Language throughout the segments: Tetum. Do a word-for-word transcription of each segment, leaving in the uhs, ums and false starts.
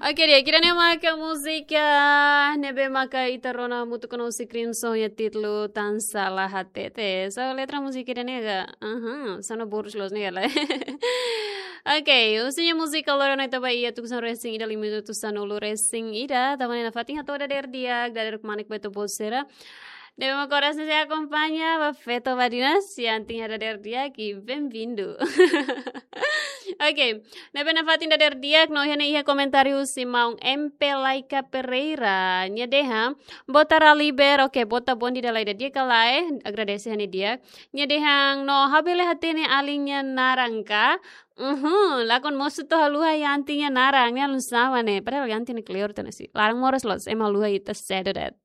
Oke, di'ak, ida-ne'e maka múzika ne'ebé maka ita rona hamutuk ho Crimson nia títulu Tan Sala Hatete. So, letra múzika ida-ne'e ka, aha, sona borus loos ne'e ka lae. Oke, husi nia múzika loron ne'e ita ba iha tuku sanulu resin ida, lima minutu sanulu resin ida, tanba ne'e nafatin hato'o dadeer di'ak, dadeer kmanek ba ita-boot sira ne'ebé maka oras ne'e sei akompaña ba Feto Badinas, iha antin dadeer di'ak, i bem-vindo. Oke, ne'ebé nafatin dadeer di'ak, no iha ne'e iha komentáriu husi maun M P Laika Pereira, nia dehan, boot Raliber, oke, boot, bom dia, dala ida di'ak ka lae, agradese ha'u-nia di'ak. Nia dehan, no ha'u bele hatene alin nia naran ka? Uhum, lakon mosu atu haluha iha antin nia naran, ne'e alusama ne'e. Padahal iha antin ne'e kleur tiha ona sih. Laran moras loos, ema haluha ita sedu de'it.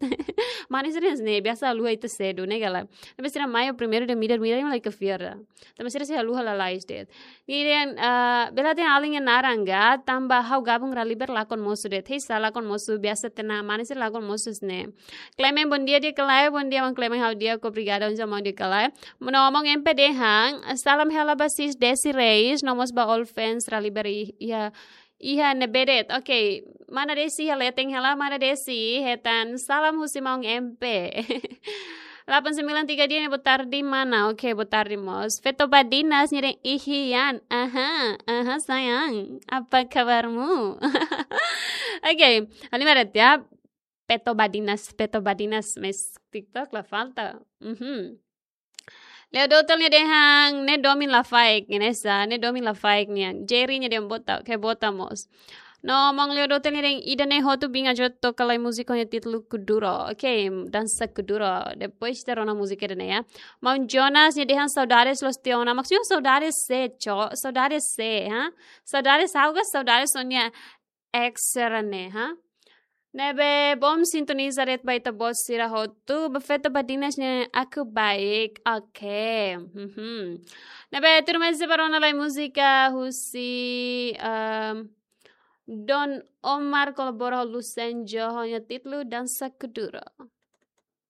Manis ne'e, biasa haluha ita sedu, ne'e ka lae. Tapi sira mai primeiru de'it midar, midar, ema la iha fiar. Tapi sira sei haluha lalais de'it. Nia dehan, ah, bele hatene alin nia naran ka, tanba ha'u gabung Raliber lakon mosu de'it. Hei, sa lakon mosu, biasa tiha ona manis lakon mosu ne'e. Clement, bom dia, di'ak ka lae, bom dia, maun Clement, ha'u di'ak, obrigada, un jamon di'ak ka lae. No maun M P dehan, salam hela ba sis Desi Reis, no mós ba all fans Raliber i-, iha, iha ne'ebé de'it. Oke, mana Desi iha leten hela, mana Desi, hetan salam husi maun M P. Delapan sembilan tiga dia ne'e, boa tarde, mana? Oke, boa tarde mós. Feto Badinas, nia dehan, ihian, aha, aha, sayang, apa kabarmu? Oke, halimar de'it ya. Feto Badinas, Feto Badinas, mais TikTok la falta. Mhm. Leo Dotel nia dehan, ne'e domin lafaek, ne'e sa, ne'e domin lafaek nian. Jerry nia dehan boot, oke, boot mós. No maun Leo Dotel nia dehan, ida-ne'e hotu bin ajo toka lai múzika nia títulu Kuduro. Oke, dansa Kuduro. Depois ita rona múzika ida-ne'e ya. Maun Jonas nia dehan, saudades loos tiha ona. Maksudnya saudades sé, cok? Saudades sé, ha? Saudades ha'u ka saudades ó-nia ex sira-ne'e, ha? Ne'ebé bom sintoniza de'it ba ita-boot sira hotu, ba Feto Badinas ne'e, aku baik. Oke. Mhm. Ne'ebé tuirmai ita sei ba rona lai múzika husi, ehm, Don Omar kolabora ho Lusen Joho nia títulu Dansa Kuduro.